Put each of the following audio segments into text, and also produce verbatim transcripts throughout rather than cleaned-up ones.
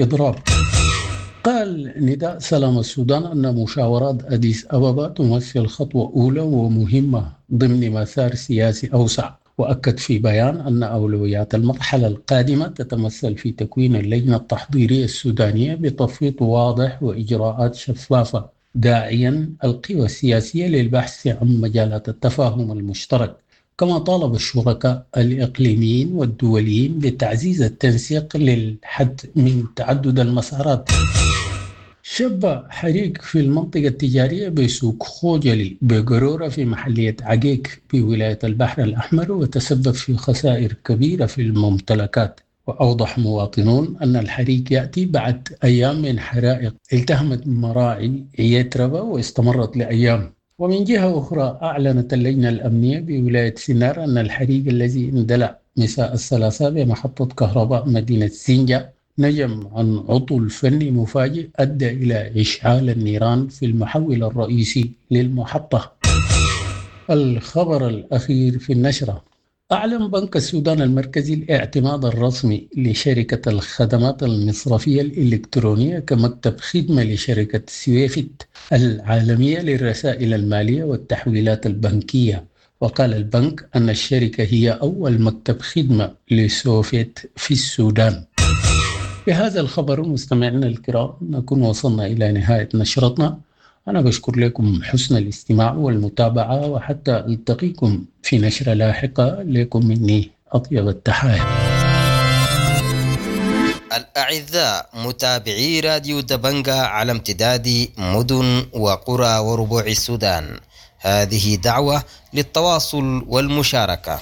إضراب. قال نداء سلام السودان أن مشاورات أديس أبابا تمثل خطوة أولى ومهمة ضمن مسار سياسي أوسع. وأكد في بيان أن أولويات المرحلة القادمة تتمثل في تكوين اللجنة التحضيرية السودانية بتفويض واضح وإجراءات شفافة، داعيا القوى السياسية للبحث عن مجالات التفاهم المشترك. كما طالب الشركاء الإقليميين والدوليين بتعزيز التنسيق للحد من تعدد المسارات. شب حريق في المنطقة التجارية بسوق خوجلي بقرورة في محلية عقيق بولاية البحر الأحمر وتسبب في خسائر كبيرة في الممتلكات. وأوضح مواطنون أن الحريق يأتي بعد أيام من حرائق التهمت مراعي عيتربة واستمرت لأيام. ومن جهة أخرى أعلنت اللجنة الأمنية بولاية سنار أن الحريق الذي اندلع مساء الثلاثاء بمحطة كهرباء مدينة سنجة نجم عن عطل فني مفاجئ أدى إلى إشعال النيران في المحول الرئيسي للمحطة. الخبر الأخير في النشرة: أعلن بنك السودان المركزي الاعتماد الرسمي لشركة الخدمات المصرفية الإلكترونية كمكتب خدمة لشركة سويفت العالمية للرسائل المالية والتحويلات البنكية. وقال البنك أن الشركة هي أول مكتب خدمة لسوفيت في السودان. بهذا الخبر مستمعينا الكرام نكون وصلنا إلى نهاية نشرتنا. أنا بشكر لكم حسن الاستماع والمتابعة، وحتى ألتقيكم في نشرة لاحقة. لكم مني أطيب التحايا. الأعزاء متابعي راديو دبنجا على امتداد مدن وقرى وربوع السودان، هذه دعوة للتواصل والمشاركة.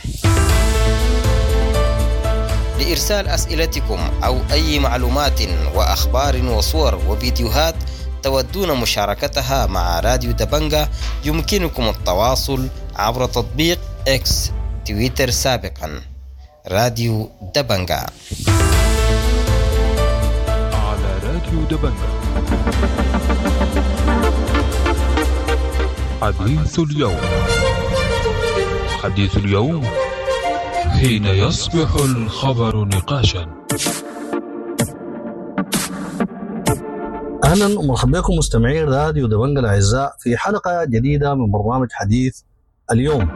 لإرسال أسئلتكم أو أي معلومات وأخبار وصور وفيديوهات تودون مشاركتها مع راديو دبنجا، يمكنكم التواصل عبر تطبيق إكس تويتر سابقا راديو دبنجا. على راديو دبنجا حديث اليوم. حديث اليوم حين يصبح الخبر نقاشا. اهلا ومرحبا بكم مستمعي راديو دبنجا الاعزاء في حلقه جديده من برنامج حديث اليوم.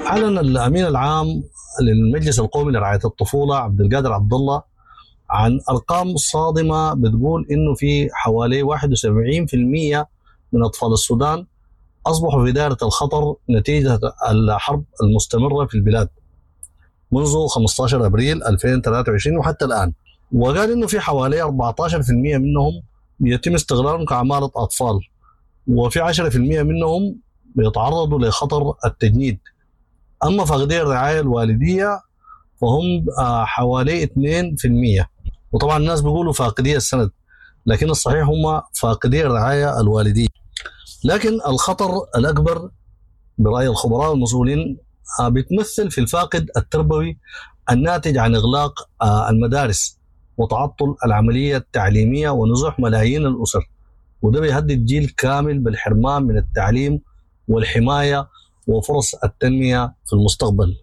اعلن الامين العام للمجلس القومي لرعايه الطفوله عبد القادر عبد الله عن ارقام صادمه بتقول انه في حوالي واحد وسبعين بالمئة من اطفال السودان اصبحوا في دائره الخطر نتيجه الحرب المستمره في البلاد منذ خمسة عشر ابريل ألفين وثلاثة وعشرين وحتى الان. وقال انه في حوالي أربعة عشر بالمئة منهم يتم استغلالهم كعماله اطفال، وفي عشرة بالمئة منهم بيتعرضوا لخطر التجنيد. اما فاقدي الرعايه الوالديه فهم حوالي اثنين بالمئة، وطبعا الناس بيقولوا فاقدي السند، لكن الصحيح هم فاقدي الرعايه الوالديه. لكن الخطر الاكبر براي الخبراء والمسؤولين بيتمثل في الفاقد التربوي الناتج عن اغلاق المدارس وتعطل العملية التعليمية ونزوح ملايين الأسر، وده بيهدد جيل كامل بالحرمان من التعليم والحماية وفرص التنمية في المستقبل.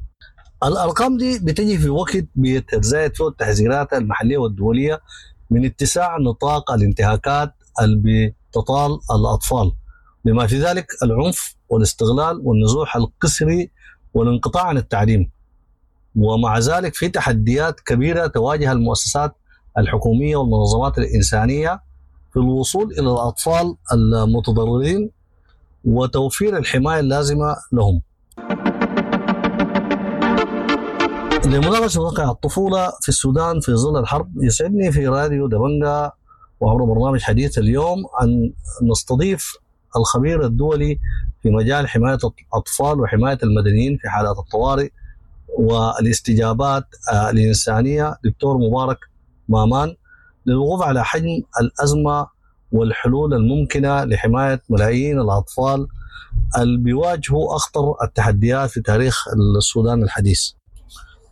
الأرقام دي بتجي في وقت بيتزايد فيه التحذيرات المحلية والدولية من اتساع نطاق الانتهاكات اللي بتطال الأطفال، بما في ذلك العنف والاستغلال والنزوح القسري والانقطاع عن التعليم. ومع ذلك في تحديات كبيرة تواجه المؤسسات الحكومية والمنظمات الإنسانية في الوصول إلى الأطفال المتضررين وتوفير الحماية اللازمة لهم. لمناقشة واقع الطفولة في السودان في ظل الحرب، يسعدني في راديو دبنجا وعبر برنامج حديث اليوم أن نستضيف الخبير الدولي في مجال حماية الأطفال وحماية المدنيين في حالات الطوارئ والاستجابات الإنسانية دكتور مبارك مامان، للوقوف على حجم الأزمة والحلول الممكنة لحماية ملايين الأطفال اللي بيواجهوا أخطر التحديات في تاريخ السودان الحديث.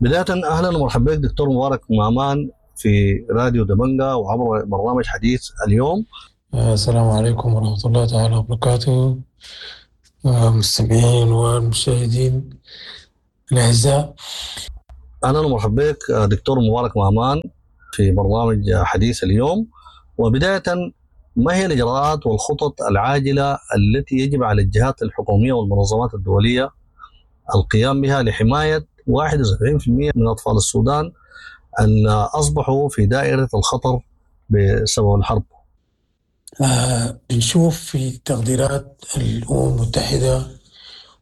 بداية أهلا ومرحبا بك دكتور مبارك مامان في راديو دبنجا وعبر برنامج حديث اليوم. السلام عليكم ورحمة الله تعالى وبركاته مستمعين والمشاهدين الأعزاء. اهلا ومرحبا بك دكتور مبارك مامان في برنامج حديث اليوم. وبداية، ما هي الاجراءات والخطط العاجلة التي يجب على الجهات الحكومية والمنظمات الدولية القيام بها لحماية واحد وسبعين في المية من اطفال السودان ان اصبحوا في دائرة الخطر بسبب الحرب؟ آه، بنشوف في تقديرات الأمم المتحدة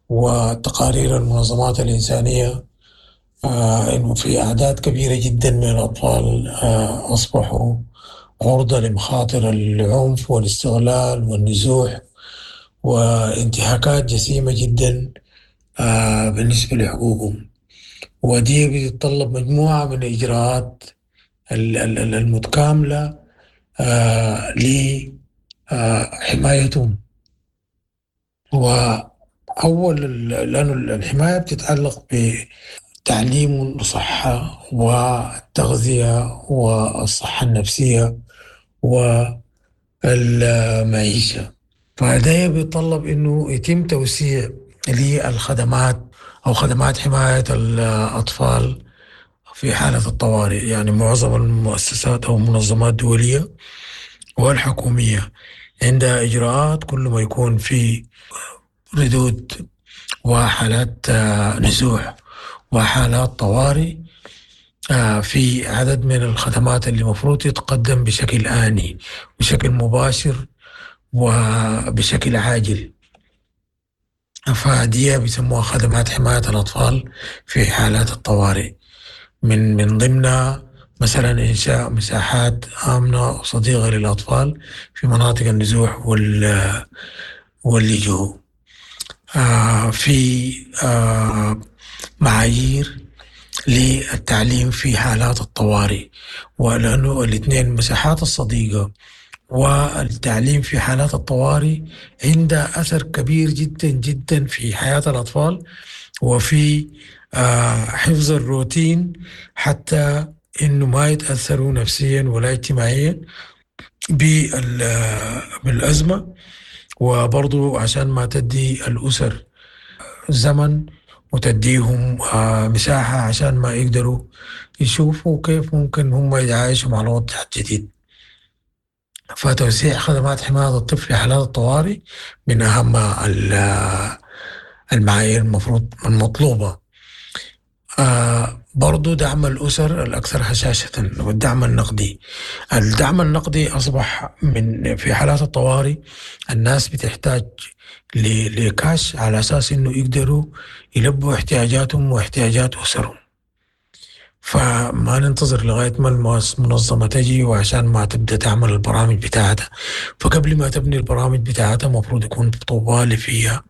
وتقارير المنظمات الإنسانية، آه، إنه في أعداد كبيرة جدا من الأطفال، آه، أصبحوا عرضة لمخاطر العنف والاستغلال والنزوح وانتهاكات جسيمة جدا، آه، بالنسبة لحقوقهم. ودي بتتطلب مجموعة من الإجراءات ال-، ال-، ال-، المتكاملة، آه، ل، آه، حمايتهم. وأول ال-، لأنه الحماية بتتعلق بتعليم وصحة والتغذية والصحة النفسية والمعيشة. فده بيتطلب إنه يتم توسيع للخدمات أو خدمات حماية الأطفال في حالة الطوارئ. يعني معظم المؤسسات أو المنظمات الدولية والحكومية عندها إجراءات كل ما يكون في ردود وحالات، آه، نزوح وحالات طوارئ، آه، في عدد من الخدمات اللي مفروض يتقدم بشكل آني، بشكل مباشر وبشكل عاجل. فدي بيسموها خدمات حماية الأطفال في حالات الطوارئ. من، من ضمنها مثلا إنشاء مساحات آمنة وصديقة للأطفال في مناطق النزوح وال-، واللجوء. آه، في، آه، معايير للتعليم في حالات الطوارئ، ولأنه الاثنين مساحات الصديقة والتعليم في حالات الطوارئ عندها أثر كبير جدا جدا في حياة الأطفال وفي، آه، حفظ الروتين حتى إنه ما يتأثروا نفسيا ولا اجتماعيا بال-، بالأزمة، وبرضو عشان ما تدي الأسر زمن وتديهم، آه، مساحة عشان ما يقدروا يشوفوا كيف ممكن هم يتعايشوا مع الوضع الجديد. فتوسيع خدمات حماية الطفل في حالات الطوارئ من أهم ال-، المعايير المفروض المطلوبة. آه، برضو دعم الأسر الأكثر هشاشة والدعم النقدي. الدعم النقدي أصبح من في حالات الطوارئ الناس بتحتاج ل-، لكاش على أساس إنه يقدروا يلبوا احتياجاتهم واحتياجات أسرهم. فما ننتظر لغاية ما المؤس-، المنظمة تجي وعشان ما تبدأ تعمل البرامج بتاعتها. فقبل ما تبني البرامج بتاعتها مفروض يكون طوالي فيها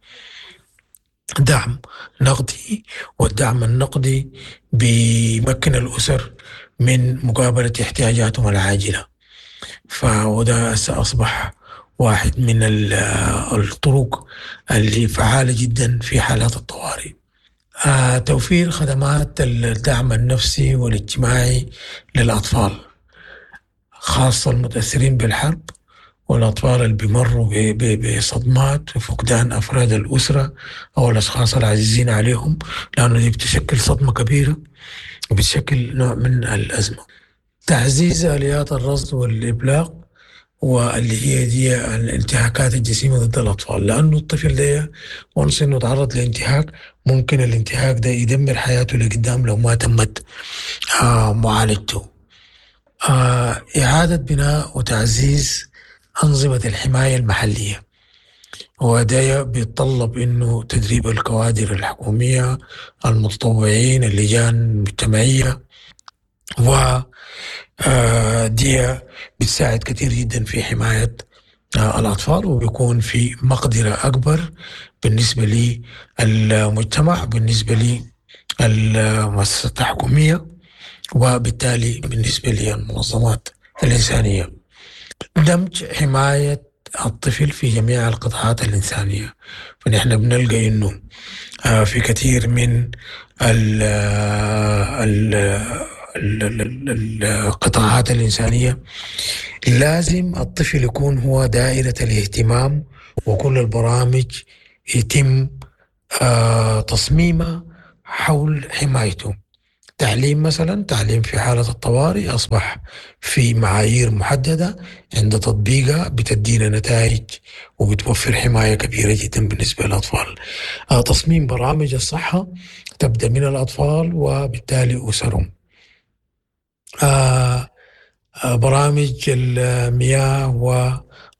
دعم نقدي، والدعم النقدي بيمكن الأسر من مقابلة احتياجاتهم العاجلة. فوده أصبح واحد من ال-، الطرق اللي فعالة جدا في حالات الطوارئ. آه، توفير خدمات الدعم النفسي والاجتماعي للأطفال، خاصة المتأثرين بالحرب والأطفال اللي بيمروا ب-، ب-، بصدمات وفقدان أفراد الأسرة أو الأشخاص العزيزين عليهم، لأنه دي بتشكل صدمة كبيرة وبتشكل نوع من الأزمة. تعزيز آليات الرصد والإبلاغ واللي هي دي الانتهاكات الجسيمة ضد الأطفال، لأنه الطفل ده وانس إنه تعرض لانتهاك ممكن الانتهاك ده يدمر حياته لقدام لو ما تمت، آه، معالجته. آه، إعادة بناء وتعزيز أنظمة الحماية المحلية، وده بيتطلب إنه تدريب الكوادر الحكومية، المتطوعين، اللجان المجتمعية، و، آه، دي بتساعد كثير جدا في حماية، آه، الأطفال، وبيكون في مقدرة أكبر بالنسبة للمجتمع، بالنسبة للمؤسسات الحكومية، وبالتالي بالنسبة للمنظمات الإنسانية. دمج حماية الطفل في جميع القطاعات الإنسانية، فنحن بنلقى إنه، آه، في كثير من ال، ال، ال، ال، ال، القطاعات الإنسانية لازم الطفل يكون هو دائرة الاهتمام، وكل البرامج يتم، آه، تصميمها حول حمايته. تعليم مثلا، تعليم في حالة الطوارئ أصبح في معايير محددة عند تطبيقها بتدينا نتائج وبتوفر حماية كبيرة جدا بالنسبة للأطفال. آه، تصميم برامج الصحة تبدأ من الأطفال وبالتالي أسرهم. آه، آه، برامج المياه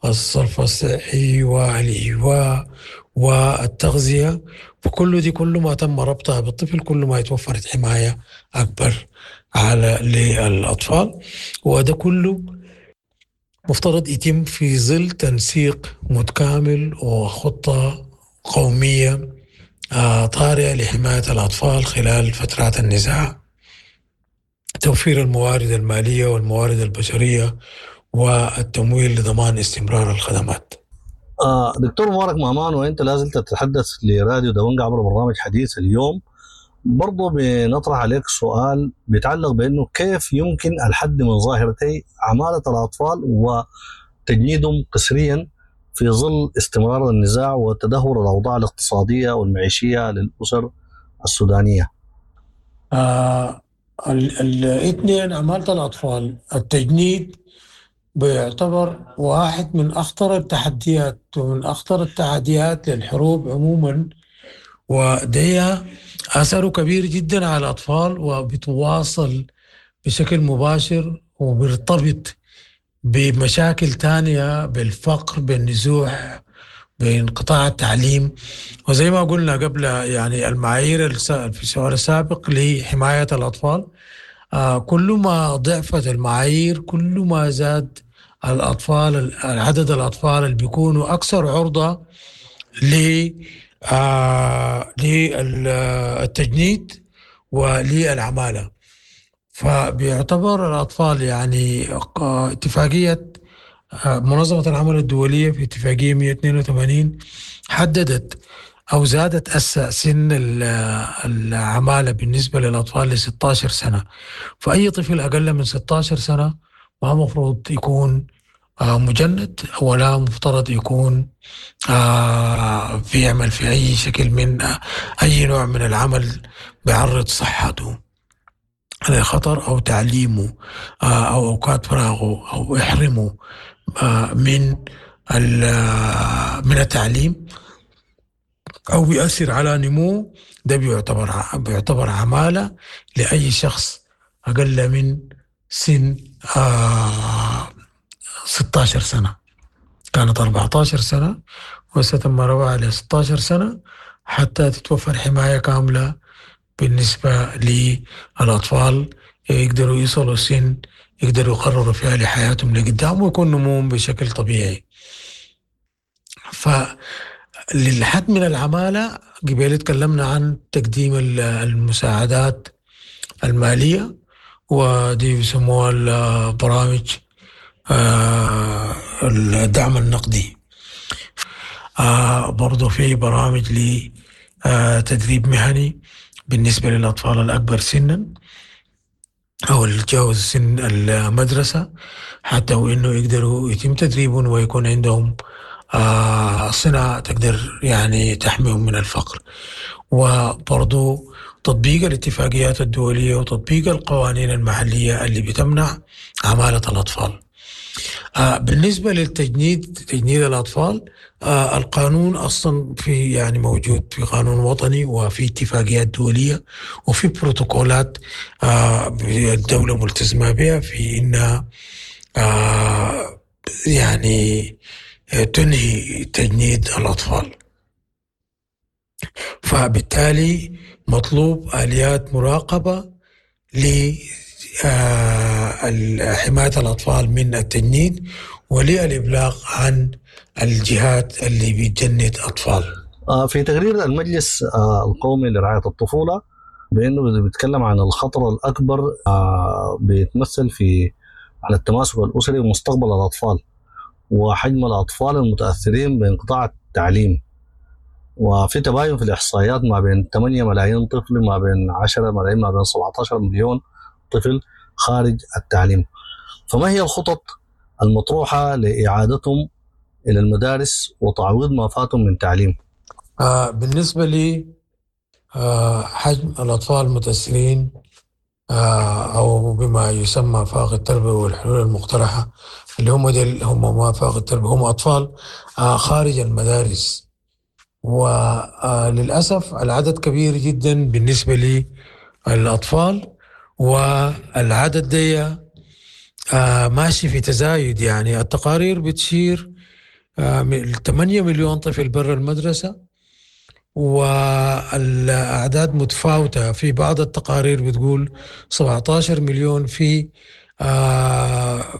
والصرف الصحي والإيواء والتغذية، فكل دي كل ما تم ربطها بالطفل كل ما اتوفرت حماية أكبر على للأطفال. وده كله مفترض يتم في ظل تنسيق متكامل وخطة قومية، آه، طارئة لحماية الأطفال خلال فترات النزاع، توفير الموارد المالية والموارد البشرية والتمويل لضمان استمرار الخدمات. آه، دكتور مبارك مامان، وانت لازلت تتحدث لراديو دبنقا عبر برنامج حديث اليوم، برضو بنطرح عليك سؤال بيتعلق بأنه كيف يمكن الحد من ظاهرتي عمالة الأطفال وتجنيدهم قسريا في ظل استمرار النزاع وتدهور الأوضاع الاقتصادية والمعيشية للأسر السودانية؟ آه، ال-، الاثنين، عمالة الأطفال، التجنيد بيعتبر واحد من أخطر التحديات ومن أخطر التحديات للحروب عموما، ودي أثره كبير جدا على الأطفال وبتواصل بشكل مباشر وبيرتبط بمشاكل تانية، بالفقر، بالنزوح، بانقطاع التعليم. وزي ما قلنا قبل يعني المعايير الس-، في السؤال السابق لحماية الأطفال، آه، كل ما ضعفت المعايير كل ما زاد الأطفال، عدد الأطفال اللي بيكونوا أكثر عرضة ل، آه، للتجنيد وللعمالة. فبيعتبر الأطفال يعني، آه، اتفاقية، آه، منظمة العمل الدولية في اتفاقية مية واثنين وثمانين حددت أو زادت أس سن ال-، العمالة بالنسبة للأطفال ل ستاشر سنة. فأي طفل أقل من ستاشر سنة ما مفروض يكون، آه، مجند، ولا مفترض يكون، آه، بيعمل في أي شكل من، آه، أي نوع من العمل بيعرض صحته لخطر أو تعليمه، آه، أو أوقات فراغه أو يحرمه، آه، من ال-، آه، من التعليم أو بيأثر على نموه. ده بيعتبر ع-، بيعتبر عمالة لأي شخص أقل من سن، آه، ستاشر سنة. كانت أربعتاشر سنة وستم رفعها ل ستاشر سنة حتى تتوفر حماية كاملة بالنسبة للأطفال، يقدروا يصلوا سن يقدروا يقرروا فيها لحياتهم لقدام ويكون نموهم بشكل طبيعي. فللحد من العمالة قبل تكلمنا عن تقديم ال-، المساعدات المالية، ودي بيسموها البرامج، آه، الدعم النقدي. آه، برضو في برامج ل، آه، تدريب مهني بالنسبة للأطفال الأكبر سنا أو اللي تجاوز سن المدرسة، حتى وإنه يقدروا يتم تدريبهم ويكون عندهم، آه، صناعة تقدر يعني تحميهم من الفقر. وبرضو تطبيق الاتفاقيات الدولية وتطبيق القوانين المحلية اللي بتمنع عمالة الأطفال. آه، بالنسبة للتجنيد، تجنيد الأطفال، آه، القانون أصلاً في يعني موجود في قانون وطني وفي اتفاقيات دولية وفي بروتوكولات، آه، الدولة ملتزمة بها في إنها، آه، يعني، آه، تنهي تجنيد الأطفال. فبالتالي مطلوب آليات مراقبة ل، آه، حماية الأطفال من التجنيد وللإبلاغ عن الجهات اللي بتجند أطفال. آه، في تقرير المجلس، آه، القومي لرعاية الطفولة بأنه بيتكلم عن الخطر الأكبر، آه، بيتمثل في على التماسك الأسري ومستقبل الأطفال وحجم الأطفال المتأثرين بانقطاع التعليم، وفي تباين في الإحصائيات ما بين ثمانية ملايين طفل، ما بين عشرة ملايين، ما بين سبعتاشر مليون طفل خارج التعليم. فما هي الخطط المطروحة لإعادتهم إلى المدارس وتعويض ما فاتهم من تعليم؟ آه، بالنسبة لي، آه، حجم الأطفال المتأثرين أو بما يسمى فاقد التربية والحلول المقترحة، اللي هم ديل هم ما فاقد التربية، هم أطفال خارج المدارس. وللأسف العدد كبير جدا بالنسبة للأطفال، والعدد دي ماشي في تزايد. يعني التقارير بتشير ثمانية مليون طفل برا المدرسة، والأعداد متفاوتة. في بعض التقارير بتقول سبعتاشر مليون، في،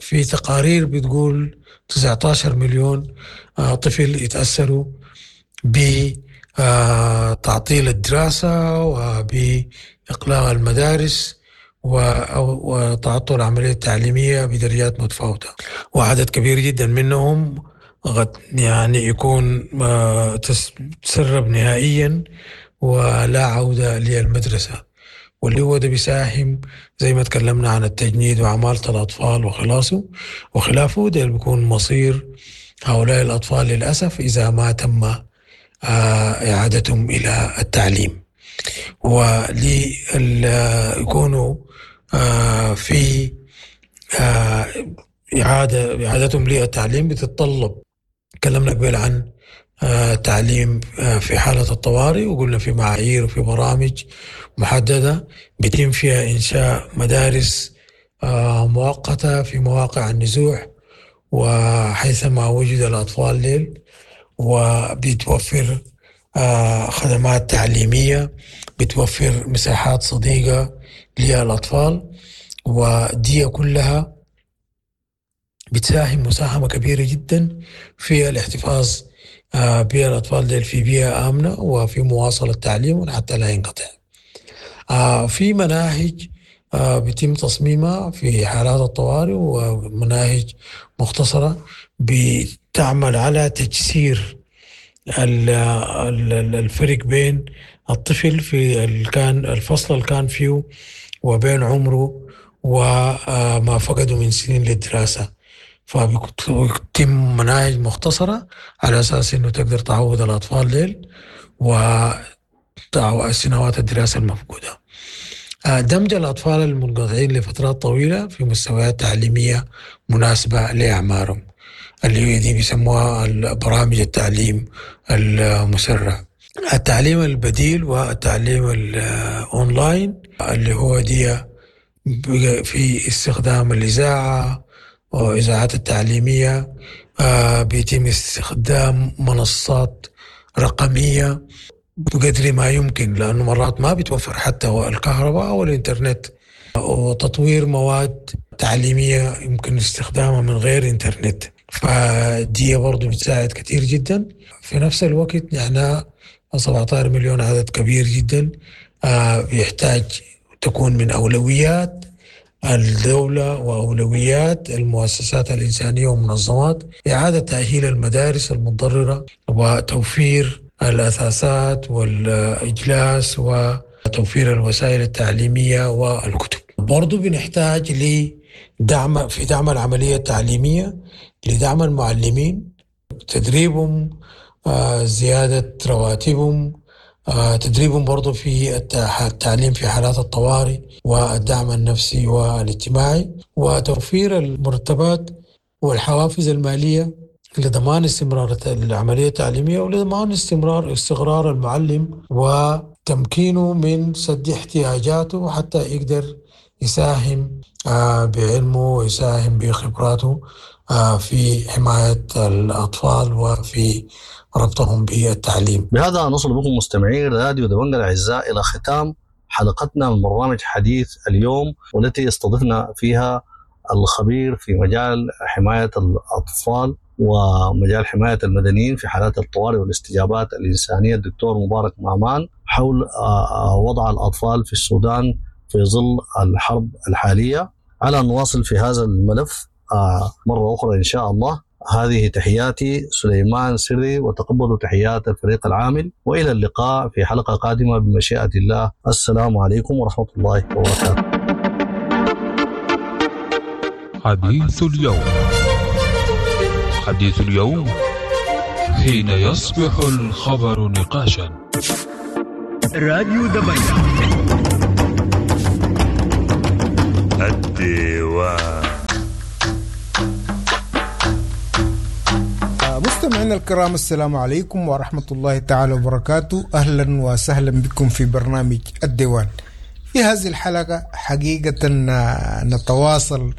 في تقارير بتقول تسعتاشر مليون طفل يتأثروا بتعطيل الدراسة وبإقلاع المدارس وتعطل العملية التعليمية بدرجات متفاوتة، وعدد كبير جدا منهم قد يعني يكون تسرب نهائيا ولا عودة للمدرسة، واللي هو ده بيساهم زي ما تكلمنا عن التجنيد وعمالة الأطفال وخلاصه وخلافه، ده بيكون مصير هؤلاء الأطفال للأسف إذا ما تم إعادتهم إلى التعليم، وليكونوا في إعادة، إعادتهم للتعليم بتتطلب. تكلمنا قبل عن تعليم في حالة الطوارئ، وقلنا في معايير وفي برامج محددة بيتم فيها إنشاء مدارس مؤقتة في مواقع النزوح وحيثما وجد الأطفال ليل، وبتوفر خدمات تعليمية، بتوفر مساحات صديقة للأطفال، ودي كلها بتساهم مساهمة كبيرة جدا في الاحتفاظ بالأطفال ديل في بيئة آمنة وفي مواصلة تعليمهم حتى لا ينقطع. في مناهج بيتم تصميمها في حالات الطوارئ، ومناهج مختصرة بتعمل على تجسير الفرق بين الطفل في كان الفصل اللي كان فيه وبين عمره وما فقده من سنين للدراسة. فبتتم مناهج مختصرة على أساس إنه تقدر تعوض الأطفال ديل وسنوات الدراسة المفقودة. دمج الأطفال المنقطعين لفترات طويلة في مستويات تعليمية مناسبة لأعمارهم، اللي هي دي بيسموها برامج التعليم المسرع. التعليم البديل والتعليم الأونلاين اللي هو دي في استخدام الإذاعة وإذاعات التعليمية، بيتم استخدام منصات رقمية بقدر ما يمكن، لأنه مرات ما بيتوفر حتى الكهرباء أو الإنترنت، وتطوير مواد تعليمية يمكن استخدامها من غير إنترنت، فدي برضو بتساعد كثير جدا. في نفس الوقت نحن سبعتاشر مليون عدد كبير جدا، بيحتاج تكون من أولويات الدولة وأولويات المؤسسات الإنسانية والمنظمات إعادة تأهيل المدارس المتضررة وتوفير الأساسات والإجلاس وتوفير الوسائل التعليمية والكتب. برضو بنحتاج لدعم في دعم العملية التعليمية، لدعم المعلمين، تدريبهم، زيادة رواتبهم، تدريبهم برضو في التعليم في حالات الطوارئ والدعم النفسي والاجتماعي، وتوفير المرتبات والحوافز المالية لضمان استمرار العملية التعليمية ولضمان استمرار استقرار المعلم وتمكينه من سد احتياجاته حتى يقدر يساهم بعلمه ويساهم بخبراته في حماية الأطفال وفي ربطهم بالتعليم. بهذا نصل بكم مستمعين راديو دبنجة الأعزاء إلى ختام حلقتنا من برنامج حديث اليوم، والتي استضفنا فيها الخبير في مجال حماية الأطفال ومجال حماية المدنيين في حالات الطوارئ والاستجابات الإنسانية الدكتور مبارك مامان، حول وضع الأطفال في السودان في ظل الحرب الحالية. على أن نواصل في هذا الملف مرة أخرى إن شاء الله. هذه تحياتي سليمان سري، وتقبلوا تحيات الفريق العامل، وإلى اللقاء في حلقة قادمة بمشيئة الله. السلام عليكم ورحمة الله وبركاته. حديث اليوم، حديث اليوم حين يصبح الخبر نقاشا. راديو دبنجة. الديوان. مستمعينا الكرام، السلام عليكم ورحمة الله تعالى وبركاته. أهلا وسهلا بكم في برنامج الديوان. في هذه الحلقة حقيقة نتواصل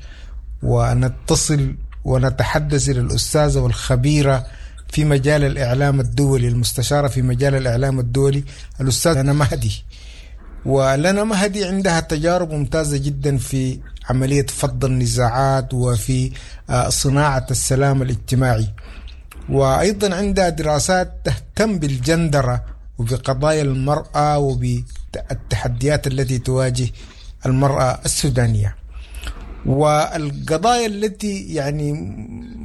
ونتصل ونتحدث إلى الأستاذة والخبيرة في مجال الإعلام الدولي، المستشارة في مجال الإعلام الدولي، الأستاذة لنا مهدي. ولنا مهدي عندها تجارب ممتازة جدا في عملية فض النزاعات وفي صناعة السلام الاجتماعي، وأيضا عندها دراسات تهتم بالجندرة وبقضايا المرأة وبالتحديات التي تواجه المرأة السودانية، والقضايا التي يعني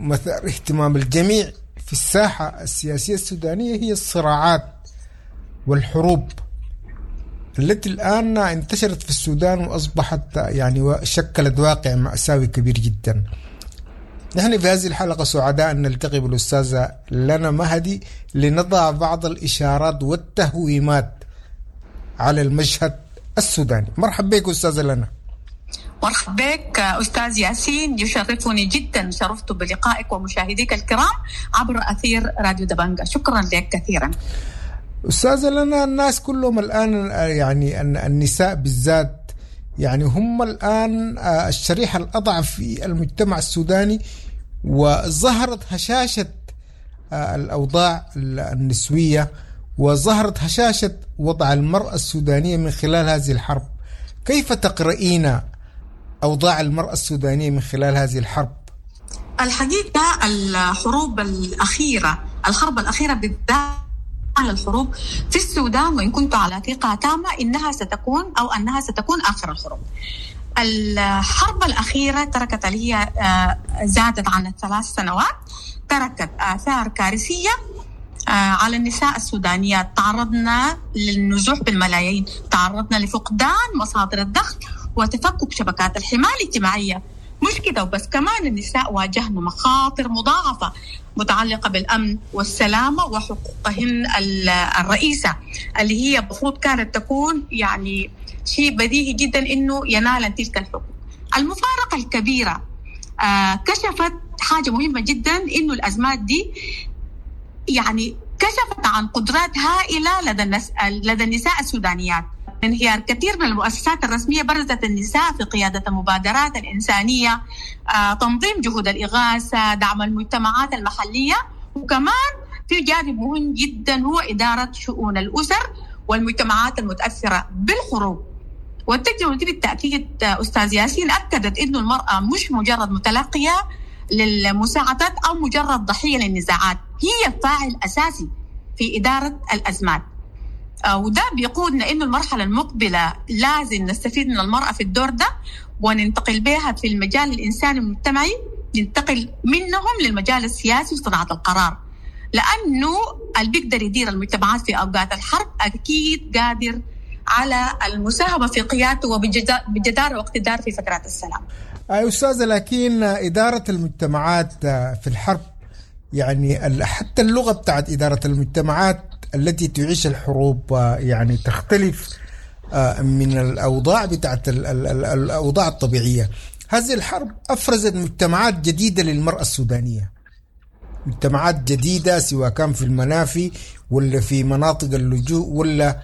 مثار اهتمام الجميع في الساحة السياسية السودانية هي الصراعات والحروب التي الآن انتشرت في السودان وأصبحت يعني شكلت واقع مأساوي كبير جدا. نحن في هذه الحلقة سعداء أن نلتقي بالأستاذة لنا مهدي لنضع بعض الإشارات والتهويمات على المشهد السوداني. مرحبا بك أستاذة لنا. مرحبا بك أستاذ ياسين، يشرفني جدا، شرفت بلقائك ومشاهديك الكرام عبر أثير راديو دبنجة. شكرا لك كثيرا أستاذة لنا. الناس كلهم الآن يعني النساء بالذات يعني هم الآن الشريحة الأضعف في المجتمع السوداني، وظهرت هشاشة الأوضاع النسوية وظهرت هشاشة وضع المرأة السودانية من خلال هذه الحرب. كيف تقرأين أوضاع المرأة السودانية من خلال هذه الحرب؟ الحقيقة الحروب الأخيرة، الحرب الأخيرة بالذات على الحروب في السودان، وإن كنت على ثقة تامة إنها ستكون أو أنها ستكون آخر الحروب. الحرب الأخيرة تركت اللي هي زادت عن الثلاث سنوات، تركت آثار كارثية على النساء السودانيات. تعرضنا للنزوح بالملايين، تعرضنا لفقدان مصادر الدخل وتفكك شبكات الحماية الاجتماعية. مش كده وبس، كمان النساء واجهن مخاطر مضاعفة متعلقة بالأمن والسلامة وحقوقهن الرئيسة اللي هي المفروض كانت تكون يعني شيء بديهي جدا إنه ينال تلك الحقوق. المفارقة الكبيرة آه كشفت حاجة مهمة جدا، إنه الأزمات دي يعني كشفت عن قدرات هائلة لدى النس... لدى النساء السودانيات. انهيار كثير من المؤسسات الرسمية برزت النساء في قيادة المبادرات الإنسانية، آه، تنظيم جهود الإغاثة، دعم المجتمعات المحلية، وكمان في جانب مهم جدا هو إدارة شؤون الأسر والمجتمعات المتأثرة بالحروب. والتجربة دي بالتأكيد أستاذ ياسين أكدت إنه المرأة مش مجرد متلقية للمساعدات أو مجرد ضحية للنزاعات، هي فاعل أساسي في إدارة الأزمات. وده بيقودنا إنه المرحلة المقبلة لازم نستفيد من المرأة في الدور ده وننتقل بها في المجال الإنساني المجتمعي، ننتقل منهم للمجال السياسي وصناعة القرار، لأنه اللي بيقدر يدير المجتمعات في أوقات الحرب أكيد قادر على المساهمة في قيادته وبجدارة واقتدار في فترات السلام. أي أستاذة، لكن إدارة المجتمعات في الحرب يعني حتى اللغة بتاعت إدارة المجتمعات التي تعيش الحروب يعني تختلف من الأوضاع بتاعت الأوضاع الطبيعية. هذه الحرب أفرزت مجتمعات جديدة للمرأة السودانية، مجتمعات جديدة سواء كان في المنافي ولا في مناطق اللجوء ولا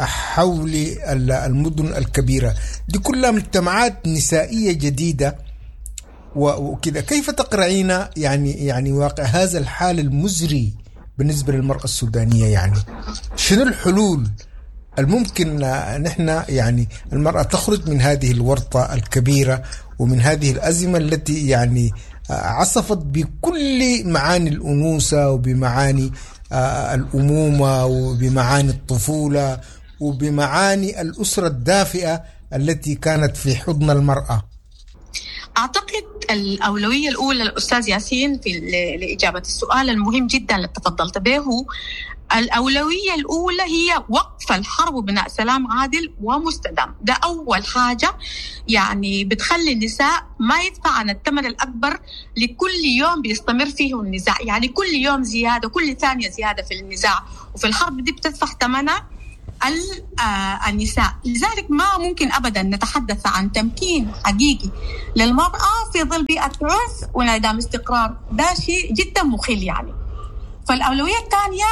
حول المدن الكبيرة، دي كلها مجتمعات نسائية جديدة وكذا. كيف تقرأين يعني يعني واقع هذا الحال المزري بالنسبة للمرأة السودانية؟ يعني شنو الحلول الممكن نحن يعني المرأة تخرج من هذه الورطة الكبيرة ومن هذه الأزمة التي يعني عصفت بكل معاني الأنوثة وبمعاني الأمومة وبمعاني الطفولة وبمعاني الأسرة الدافئة التي كانت في حضن المرأة؟ أعتقد الأولوية الأولى الأستاذ ياسين في لإجابة السؤال المهم جدا اللي تفضلت به، الأولوية الأولى هي وقف الحرب وبناء سلام عادل ومستدام. ده أول حاجة يعني بتخلي النساء ما يدفع عن الثمن الأكبر لكل يوم بيستمر فيه النزاع، يعني كل يوم زيادة، كل ثانية زيادة في النزاع وفي الحرب دي بتدفع ثمنها النساء. لذلك ما ممكن أبدا نتحدث عن تمكين حقيقي للمرأة في ظل بيئة عنف وانعدام استقرار، ده شيء جدا مخل يعني. فالأولوية الثانية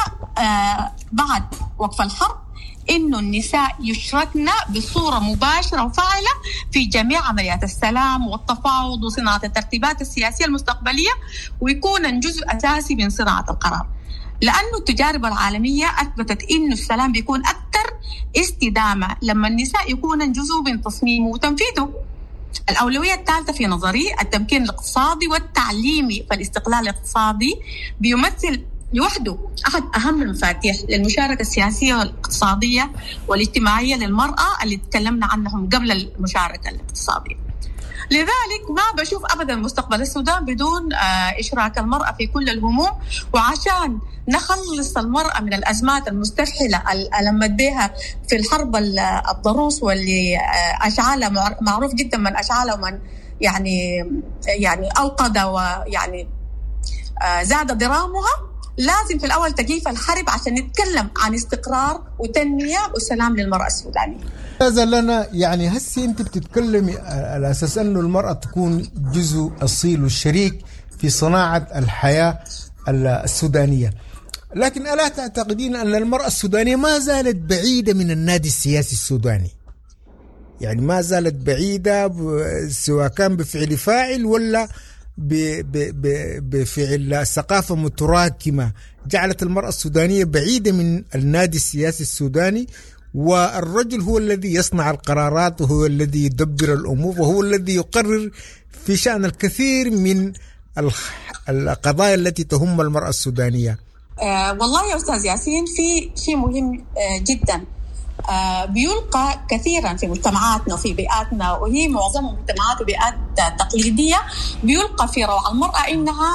بعد وقف الحرب إنه النساء يشركن بصورة مباشرة وفاعلة في جميع عمليات السلام والتفاوض وصناعة الترتيبات السياسية المستقبلية، ويكون جزء أساسي من صناعة القرار، لأنه التجارب العالمية أثبتت إنه السلام بيكون أكثر استدامة لما النساء يكون جزء من تصميمه وتنفيذه. الأولوية الثالثة في نظري التمكين الاقتصادي والتعليمي، فالاستقلال الاقتصادي بيمثل لوحده أحد أهم المفاتيح للمشاركة السياسية والاقتصادية والاجتماعية للمرأة اللي تكلمنا عنهم قبل المشاركة الاقتصادية. لذلك ما بشوف أبدا مستقبل السودان بدون إشراك المرأة في كل الهموم، وعشان نخلص المرأة من الأزمات المستفحلة اللي ألمت بها في الحرب الضروس واللي أشعالها معروف جدا من أشعالها ومن يعني يعني أوقد ويعني زاد درامها، لازم في الأول تكييف الحرب عشان نتكلم عن استقرار وتنمية وسلام للمرأة السودانية. هذا لنا يعني هسي أنت بتتكلمي على أساس أنه المرأة تكون جزء أصيل والشريك في صناعة الحياة السودانية، لكن ألا تعتقدين أن المرأة السودانية ما زالت بعيدة من النادي السياسي السوداني؟ يعني ما زالت بعيدة سواء كان بفعل فاعل ولا بفعل ثقافة متراكمة جعلت المرأة السودانية بعيدة من النادي السياسي السوداني، والرجل هو الذي يصنع القرارات وهو الذي يدبر الأمور وهو الذي يقرر في شأن الكثير من القضايا التي تهم المرأة السودانية. آه والله يا أستاذ ياسين في شيء مهم آه جدا آه بيلقى كثيرا في مجتمعاتنا وفي بيئاتنا، وهي معظم مجتمعات وبيئات تقليدية، بيلقى في روع المرأة إنها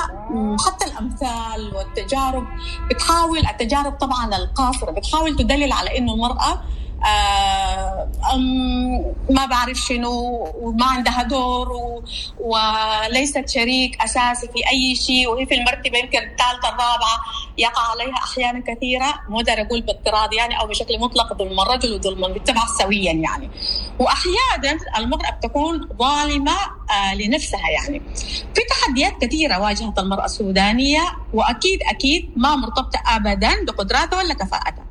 حتى الأمثال والتجارب بتحاول، التجارب طبعا القاصرة بتحاول تدلل على إنه المرأة آه ما بعرف شنو وما عندها دور و... وليست شريك أساسي في أي شيء، وهي في المرتبة يمكن الثالثة الرابعة، يقع عليها أحيانا كثيرة، مو دار أقول باضطراد يعني أو بشكل مطلق ظلم الرجل وظلم المجتمع سويا يعني. وأحيانا المرأة بتكون ظالمة آه لنفسها يعني. في تحديات كثيرة واجهت المرأة السودانية، وأكيد أكيد ما مرتبطة أبدا بقدراتها ولا كفاءتها.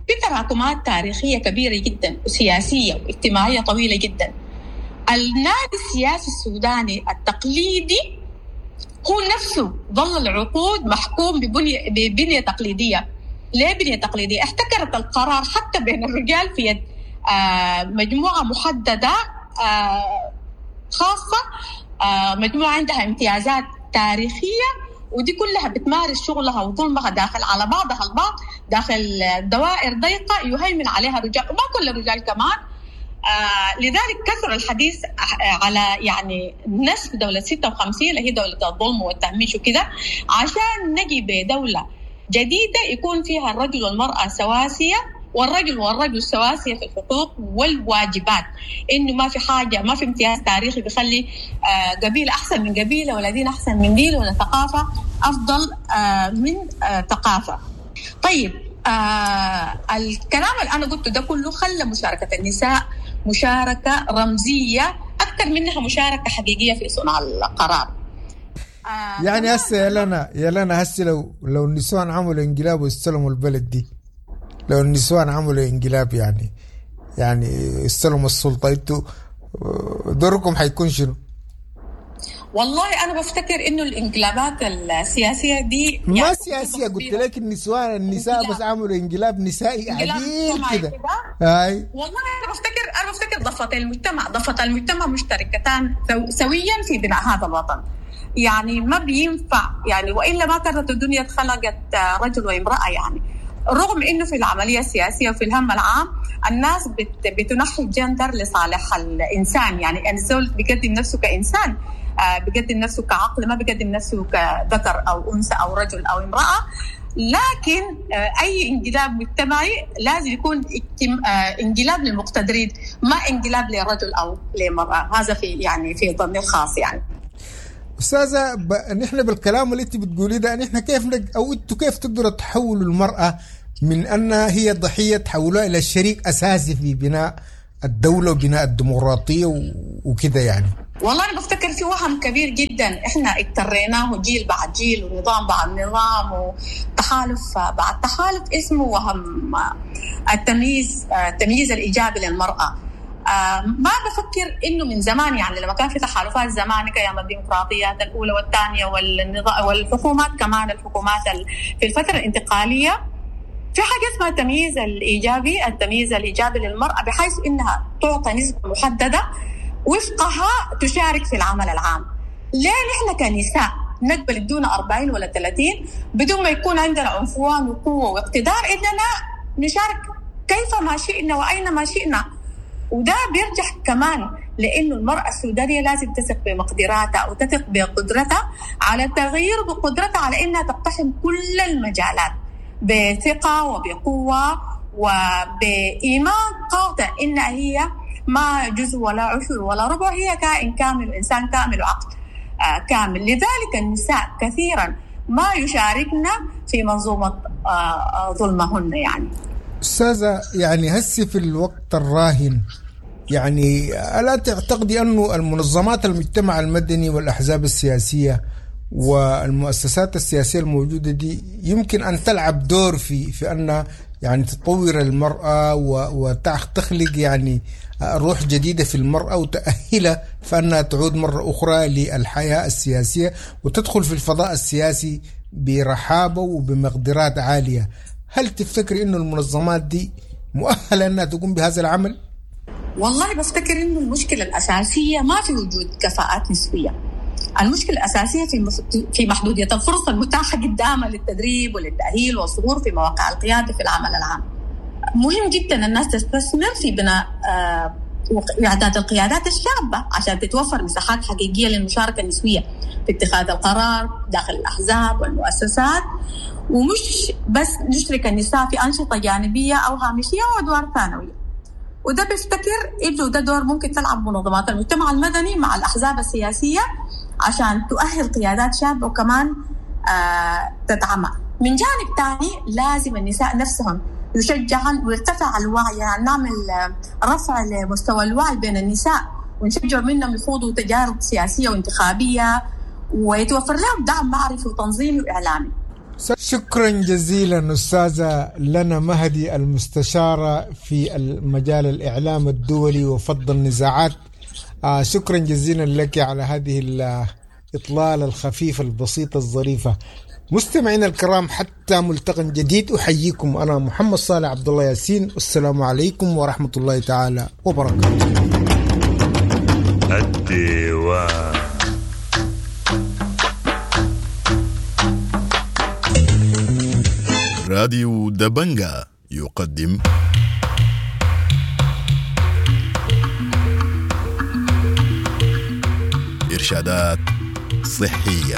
في تراكمات تاريخية كبيرة جدا وسياسية واجتماعية طويلة جدا. النادي السياسي السوداني التقليدي هو نفسه ظل العقود محكوم ببنية, ببنية تقليدية. ليه بنية تقليدية؟ احتكرت القرار حتى بين الرجال في يد آه مجموعة محددة آه خاصة، آه مجموعة عندها امتيازات تاريخية، ودي كلها بتمارس شغلها وظلمها داخل على بعضها البعض داخل دوائر ضيقة يهيمن عليها الرجال، وما كل الرجال كمان. آه لذلك كثر الحديث على يعني نسف دولة ستة وخمسين اللي هي دولة الظلم والتهميش وكذا، عشان نجي بدولة جديدة يكون فيها الرجل والمرأة سواسية، والرجل والرجل سواسية في الحقوق والواجبات، إنه ما في حاجة، ما في امتياز تاريخي بيخلي قبيلة أحسن من قبيلة ولا دين أحسن من دين ولا ثقافة أفضل من ثقافة. طيب آه الكلام اللي أنا قلته ده كله خلى مشاركة النساء مشاركة رمزية أكثر منها مشاركة حقيقية في صنع القرار. آه يعني هسه يا لنا يا لنا هسه لو لو النسوان عملوا انقلاب واستلموا البلد دي، لو النسوان عملوا انقلاب يعني يعني استلموا السلطة، انتوا دوركم حيكون شنو؟ والله أنا بفتكر إنه الانقلابات السياسية دي ما يعني سياسية، قلت لك النسوان النساء بس عملوا انقلاب نسائي عديل كده. هاي والله أنا بفتكر أنا بفتكر ضفتي المجتمع ضفة المجتمع مشتركتان سويا في بناء هذا الوطن. يعني ما بينفع يعني، وإلا ما كانت الدنيا اتخلقت رجل وامرأة يعني. رغم إنه في العملية السياسية وفي الهم العام الناس بت بتنحي الجندر لصالح الإنسان، يعني الزول بيقدم نفسه كإنسان، بيقدم نفسه كعقل، ما بيقدم نفسه كذكر أو أنثى أو رجل أو امرأة. لكن أي انقلاب مجتمعي لازم يكون انقلاب للمقتدرين، ما انقلاب لرجل أو لمرأة. هذا في يعني في ظني الخاص يعني. أستاذة ب... نحن بالكلام اللي أنت بتقوليه ده، نحن كيف نج... أو أنتوا كيف تقدروا تحولوا المرأة من أنها هي ضحية تحولوها إلى شريك أساسي في بناء الدولة وبناء الديمقراطية وكده يعني؟ والله أنا بفتكر في وهم كبير جدا إحنا اضطريناه جيل بعد جيل ونظام بعد نظام وتحالف بعد تحالف، اسمه وهم التمييز، التمييز الإيجابي للمرأة. ما بفكر إنه من زمان، يعني لما كان في تحالفات زمان كأيام الديمقراطيات الأولى والثانية والنظام والحكومات كمان، الحكومات في الفترة الانتقالية في حاجة اسمها التمييز الإيجابي، التمييز الإيجابي للمرأة بحيث إنها تعطى نسبة محددة وفقها تشارك في العمل العام. ليه نحن كنساء نقبل دون أربعين ولا ثلاثين بدون ما يكون عندنا عنفوان وقوة واقتدار إننا نشارك كيفما شئنا وأينما شئنا؟ وده بيرجع كمان لأنه المرأة السودانية لازم تثق بمقدراتها وتثق بقدرتها على التغيير، بقدرتها على إنها تقتحم كل المجالات بثقة وبقوة وبإيمان قاطع إنها هي ما جزء ولا عشر ولا ربع، هي كائن كامل وإنسان كامل وعقل كامل. لذلك النساء كثيرا ما يشاركنا في منظومة ظلمهن. يعني أستاذة، يعني هسي في الوقت الراهن، يعني ألا تعتقدي أنه المنظمات المجتمع المدني والأحزاب السياسية والمؤسسات السياسية الموجودة دي يمكن أن تلعب دور في في أن يعني تطور المرأة وتخلق يعني روح جديدة في المرأة وتأهلها فأنها تعود مرة أخرى للحياة السياسية وتدخل في الفضاء السياسي برحابة وبمقدرات عالية؟ هل تفتكر إنه المنظمات دي مؤهلة أنها تقوم بهذا العمل؟ والله بفتكر إنه المشكلة الأساسية ما في وجود كفاءات نسوية. المشكلة الأساسية في في محدودية الفرص المتاحة قدامها للتدريب وللتأهيل والظهور في مواقع القيادة في العمل العام. مهم جدا الناس تستثمر في بناء وإعداد القيادات الشابة عشان تتوفر مساحات حقيقية للمشاركة النسوية في اتخاذ القرار داخل الأحزاب والمؤسسات، ومش بس نشرك النساء في أنشطة جانبية أو هامشية وأدوار ثانوية. وده بفتكر إنه ده دور ممكن تلعب منظمات المجتمع المدني مع الأحزاب السياسية عشان تؤهل قيادات شابة وكمان آه تدعمها. من جانب تاني لازم النساء نفسهم يشجعن ويرتفع الوعي، يعني نعمل رفع لمستوى الوعي بين النساء ونشجع منهم يخوضوا تجارب سياسية وانتخابية ويتوفر لهم دعم معرفي وتنظيمي وإعلامي. شكرا جزيلا أستاذة لنا مهدي، المستشارة في المجال الإعلام الدولي وفض النزاعات. آه شكرا جزيلا لك على هذه الإطلالة الخفيفة البسيطة الظريفة. مستمعينا الكرام، حتى ملتقى جديد أحييكم أنا محمد صالح عبد الله ياسين، والسلام عليكم ورحمة الله تعالى وبركاته. الديوان. راديو دبنجا يقدم إرشادات صحية،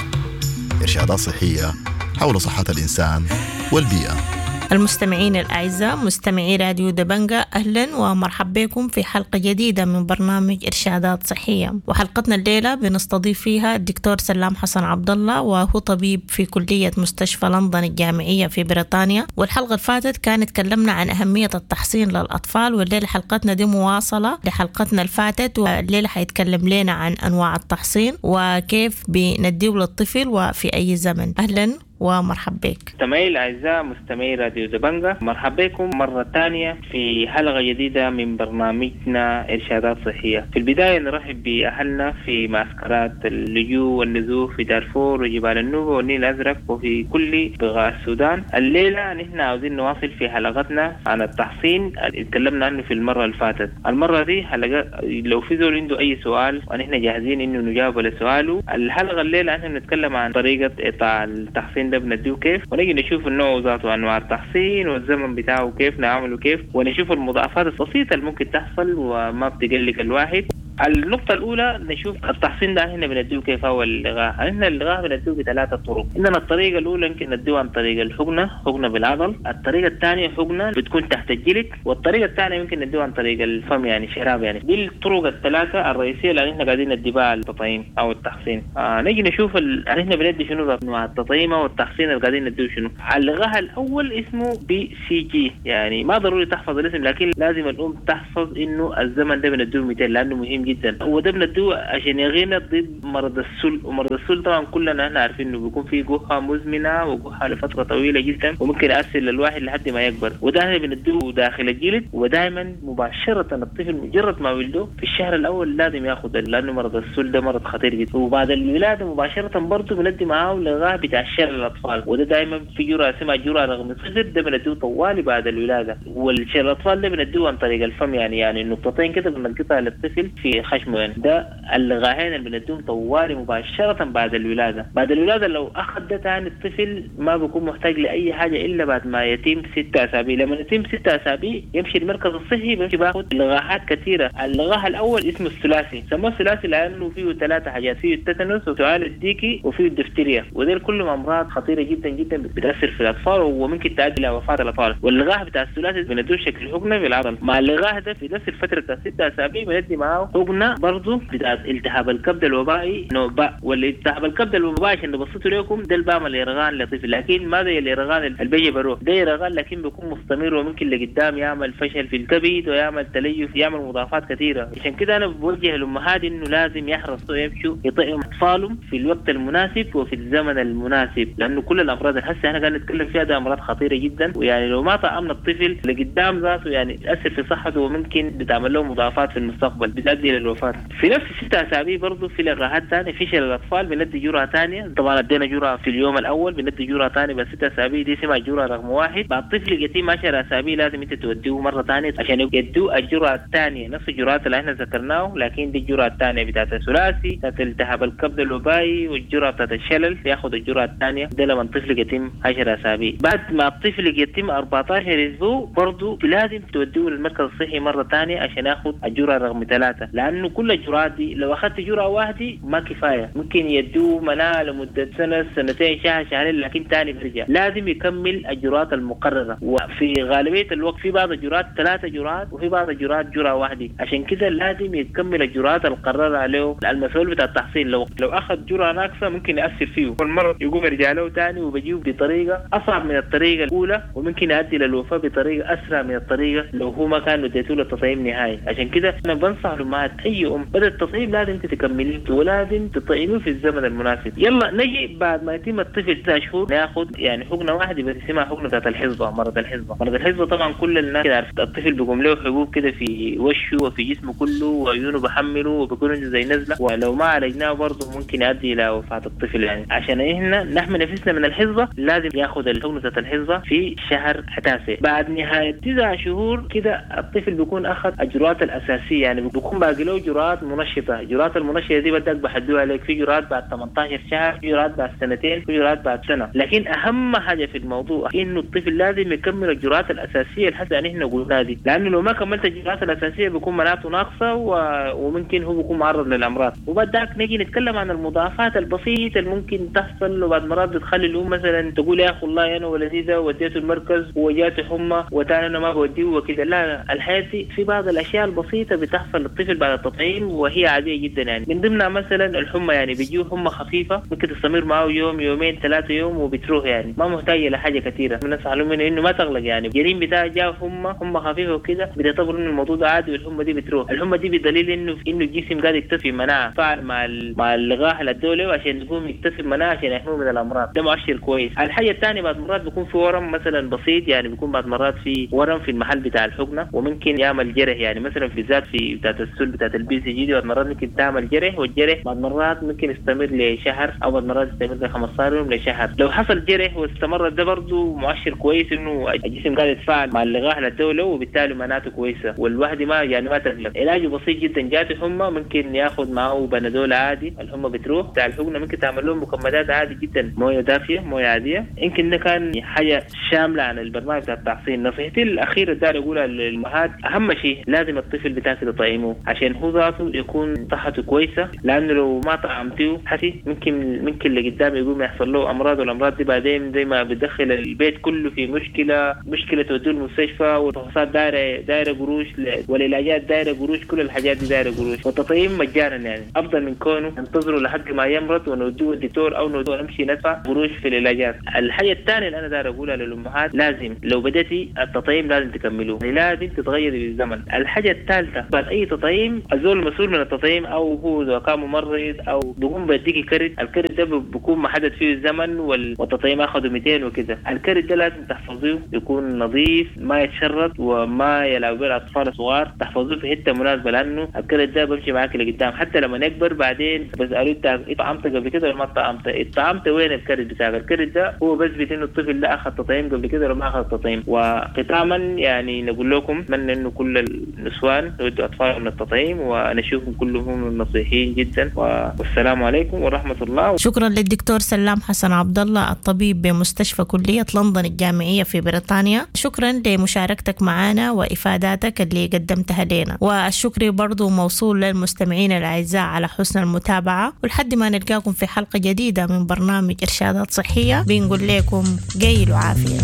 إرشادات صحية حول صحة الإنسان والبيئة. المستمعين الأعزاء مستمعي راديو دبنجا، أهلا ومرحبا بكم في حلقة جديدة من برنامج إرشادات صحية. وحلقتنا الليلة بنستضيف فيها الدكتور سلام حسن عبد الله، وهو طبيب في كلية مستشفى لندن الجامعية في بريطانيا. والحلقة اللي فاتت كانت تكلمنا عن أهمية التحصين للأطفال، والليلة حلقتنا دي مواصلة لحلقتنا اللي فاتت، والليلة حيتكلم لنا عن أنواع التحصين وكيف بنديه للطفل وفي أي زمن. أهلا ومرحبا بك. مستمعي الأعزاء مستمعي راديو دبنجا، مرحبا بكم مرة ثانية في حلقة جديدة من برنامجنا إرشادات صحية. في البداية نرحب بأهلنا في معسكرات اللجوء والنزوح في دارفور وجبال النوبة والنيل الأزرق وفي كل بقاع السودان. الليلة نحن عاوزين نواصل في حلقتنا عن التحصين اللي تكلمنا عنه في المرة اللي فاتت. المرة دي حلقة لو في زول عنده أي سؤال ونحن جاهزين إنه نجاوب على سؤاله. الحلقة الليلة نحن بنتكلم عن طريقة إعطاء التحصين ده بنديه كيف، ونجي نشوف النوع ذاته وانواع التحصين والزمن بتاعه كيف نعمله كيف، ونشوف المضاعفات البسيطه اللي ممكن تحصل وما بتقلق الواحد. النقطة الاولى نشوف التحصين ده هنا بنديه كيف هو اللقاح. عندنا اللقاح بنديه بثلاثة طرق. عندنا الطريقة الاولى يمكن نديه عن طريق الحقنة، حقنه بالعضل. الطريقة الثانية حقنه بتكون تحت الجلد، والطريقة الثانية يمكن نديه عن طريق الفم يعني شراب يعني. دي الطرق الثلاثة الرئيسية اللي احنا قاعدين ندي بها التطعيم او التحصين. آه نجي نشوف ال... احنا بندي شنو انواع التطعيم او التحصين اللي قاعدين نديه شنو. اللقاح الاول اسمه BCG، يعني ما ضروري تحفظ الاسم لكن لازم الام تحفظ انه الزمن ده بنديه مئتين لانه مهم جدا. وده بنديه عشان يغينا ضد مرض السل، ومرض السل طبعا كلنا احنا عارفين انه بيكون فيه جحا مزمنة وجحا لفترة طويلة جدا وممكن يأثر للواحد لحد ما يكبر. وده بنديه داخل الجلد، ودائما مباشرة الطفل مجرد ما ولده في الشهر الاول لازم ياخذ، لانه مرض السل ده مرض خطير جدا. وبعد الولادة مباشرة برضه بندي معاه لقاح بتاع شلل الاطفال، وده دائما في جرعة اسمها جرعة رقم صفر، ده بنديه طوالي بعد الولادة. والشلل الاطفال ده بنديه عن طريق الفم، يعني يعني نقطتين كده بنلقطها للطفل في خشمه يعني. ده اللقاحين اللي بنديهم طوالي مباشرة بعد الولادة. بعد الولادة لو اخذ ده ثاني الطفل ما بيكون محتاج لاي حاجة الا بعد ما يتم ستة اسابيع. لما يتم ستة اسابيع يمشي المركز الصحي بيمشي باخذ لقاحات كثيرة. اللقاح الاول اسمه الثلاثي، سموه الثلاثي لانه فيه ثلاثة حاجات، فيه التتنس وسعال الديكي وفيه الدفتيريا، وديل كلهم امراض خطيرة جدا جدا بتاثر في الاطفال وممكن تؤدي الى وفاه الاطفال. واللقاح بتاع الثلاثي بندوه شكل حقنه بالعضل. مع اللقاح ده في نفس الفترة بتاع ستة اسابيع بندي معاه حقنه برضه بتاع التهاب الكبد الوبائي نوع باء. والالتهاب الكبد الوبائي عشان نبسطه لكم ده اللي بعمل يرغان لطفل، لكن ما زي اليرغان اللي بيجي بروح، ده يرغان لكن بيكون مستمر وممكن لقدام يعمل فشل في الكبد ويعمل تليف، يعمل مضاعفات كثيرة. عشان كده انا بوجه الامهات انه لازم يحرصوا يمشوا يطعموا اطفالهم في الوقت المناسب وفي الزمن المناسب، لانه كل الامراض اللي هسه احنا قاعدين نتكلم فيها ده امراض خطيرة جدا، ويعني لو ما طعمنا الطفل لقدام ذاته يعني تاثر في صحته وممكن بتعمل له مضاعفات في المستقبل بتؤدي للوفاه. في نفس الست اسابيع برضه في لقاحات ثانية في شلل الاطفال بندي جرعة ثانية، طبعا ادينا جرعة في اليوم الاول بندي جرعة ثانية بس ست اسابيع، دي اسمها جرعة رقم واحد. بعد طفل يتم عشر اسابيع لازم انت توديه مرة ثانية عشان يدوه الجرعة الثانية، نفس الجرعات اللي احنا ذكرناه لكن دي الجرعة الثانية بتاعت الثلاثي بتاعت التهاب الكبد الوبائي والجرعه بتاعت الشلل، ياخذ الجرعة الثانية ده لما الطفل يتم عشر اسابيع. بعد ما الطفل يتم أربعة عشر اسبوع برضه لازم توديه للمركز الصحي مرة ثانية عشان ياخذ الجرعة رقم ثلاثة، لانه كل الجرعات دي لو اخذت جرعة واحدة ما كفاية، ممكن يدوه مناعة لمدة سنة سنتين شهر شهرين لكن ثاني بيرجع، لازم يكمل الجرعات المقررة. وفي غالبية الوقت في بعض الجرعات ثلاثة جرعات وفي بعض الجرعات جرعة واحدة، عشان كده لازم يكمل الجرعات المقررة عليه المسؤول بتاع التحصين. لو لو اخذ جرعة ناقصه ممكن ياثر فيه والمرض يقوم يرجع له ثاني وبيجيه بطريقة اصعب من الطريقة الاولى، وممكن يؤدي للوفاه بطريقة اسرع من الطريقة لو هو ما كان اديته له التطعيم نهائي. عشان كده انا بنصح الامهات اي ام بدات التطعيم لازم انت تكمليه ولازم تطعميه في الزمن المناسب. يلا نجي بعد ما يتم الطفل تسع شهور ناخذ يعني حقنه واحدة بس اسمها حقنه بتاعت الحصبة، مرض الحصبة. مرض الحصبة طبعا كل الناس كده عارف الطفل بيقوم له حبوب كده في وشه وفي جسمه كله وعيونه بحمله وبيكون عنده زي نزله، ولو ما عالجناه برضه ممكن يؤدي الى وفاه الطفل. يعني عشان احنا نحمي نفسنا من الحصبة لازم ياخذ الحقنة بتاعت الحصبة في شهر تاسع. بعد نهاية تسع شهور كده الطفل بيكون اخذ الجرعات الاساسية، يعني بيكون باقي له جرعات منشطه. الجرعات المنشطه دي بدك بحدوها عليك، في جرعات بعد ثمانية عشر شهر، في جرعات بعد سنتين، في جرعات بعد سنة. لكن اهم حاجة في الموضوع انه الطفل لازم يكمل الجرعات الاساسية اللي هسه نحن قلناها دي، لانه لو ما كملت الجرعات الاساسية بيكون مناعته ناقصه و... وممكن هو بيكون معرض للامراض. وبعد ذاك نجي نتكلم عن المضاعفات البسيطة اللي ممكن تحصل، وبعد مرات بتخلي الام مثلا تقول يا اخي والله انا ولدي ده وديته المركز وجاته حمى وتاني انا ما بوديه وكده. لا، الحياة دي في بعض الاشياء البسيطة بتحصل للطفل بعد التطعيم وهي عادية جدا، يعني من ضمنها مثلا الحمى، يعني بيجيه حمى خفيفة ممكن تستمر معه يوم يومين ثلاثة يوم وبتروح، يعني ما محتاجه لحاجة كثيرة. بنصح لهم انه ما تغلق، يعني الجنين بتاعه جاء حمى حمى خفيفة وكده بتعتبر انه الموضوع ده عادي والحمى دي بتروح. الحمى دي بدليل انه انه الجسم قاعد يكتسب مناعة فعل مع مع اللقاح اللي ادوه عشان يقوم يكتسب مناعة عشان يحميه من الامراض، ده مؤشر كويس. الحاجة الثانية بعد مرات بيكون في ورم مثلا بسيط، يعني بيكون بعد مرات في ورم في المحل بتاع الحقنة وممكن يعمل جرح، يعني مثلا في ذات في بتاعت السل بتاعت ال BCG دي بعد مرات ممكن تعمل جرح، والجرح بعد مرات ممكن يستمر لشهر او بعد مرات يستمر ل خمسة عشر يوم لشهر. لو حصل جرح واستمر ده برضه مؤشر كويس انه الجسم قاعد يتفاعل مع اللقاح اللي ادوه وبالتالي مناعته كويسة والواحد ما يعني ما تقلق. علاجه بسيط جدا، جاته حمى ممكن ياخذ معه بنادول عادي الحمى بتروح. بتاع الحقنة ممكن تعمل لهم مكمدات عادي جدا، مويه دافيه مويه عادية. يمكن ده كان حاجة شاملة عن البرنامج بتاع التحصين. نصيحتي الاخيرة داير اقولها للامهات، اهم شيء لازم الطفل بتاعك تطعمه عشان عشان هو ذاته يكون صحته كويسة، لانه لو ما طعمتيه حسي ممكن ممكن لقدام يقوم يحصل له امراض، والامراض دي بعدين زي ما بتدخل البيت كله في مشكلة، مشكلة توديه المستشفى، والفحوصات دايرة دايرة قروش، والعلاجات دايرة قروش، كل الحاجات دي دايرة قروش. والتطعيم مجانا يعني افضل من كونه ننتظره لحد ما يمرض ونوديه الدكتور او نوديه نمشي ندفع قروش في العلاجات. الحاجة الثانية اللي انا داير اقولها للامهات، لازم لو بدأتي التطعيم لازم تكملوه، يعني لازم تتغيري بالزمن. الحاجة الثالثة بعد اي تطعيم الزول المسؤول من التطعيم او هو اذا كان ممرض او بيقوم بيديكي كرت، الكرت ده بيكون محدد فيه الزمن والتطعيم اخذه مئتين وكذا، الكرت ده لازم تحفظيه يكون نظيف ما يتشرط وما يلعب به الاطفال الصغار، تحفظوه في حتة مناسبة لانه الكرت ده بمشي معاك لقدام حتى لما يكبر بعدين بسالوه انت طعمت قبل كده ولا ما طعمت؟ طعمت وين الكرت بتاعك؟ الكرت ده هو بثبت انه الطفل ده اخذ تطعيم قبل كده ولا ما اخذ تطعيم. وختاما يعني نقول لكم اتمنى انه كل النسوان يودوا اطفالهم للتطعيم ونشوفهم كلهم نصيحين جدا، والسلام عليكم ورحمة الله. شكرا للدكتور سلام حسن عبد الله الطبيب بمستشفى كليه لندن الجامعية في بريطانيا، شكرا لمشاركتك معنا وافاداتك اللي قدمتها لنا، والشكر برضو موصول للمستمعين الاعزاء على حسن المتابعة، ولحد ما نلقاكم في حلقة جديدة من برنامج ارشادات صحية بنقول لكم قيل وعافيه.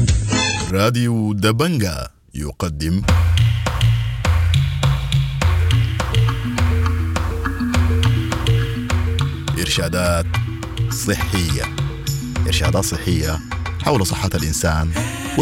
راديو دبنجا يقدم إرشادات صحية، إرشادات صحية حول صحة الإنسان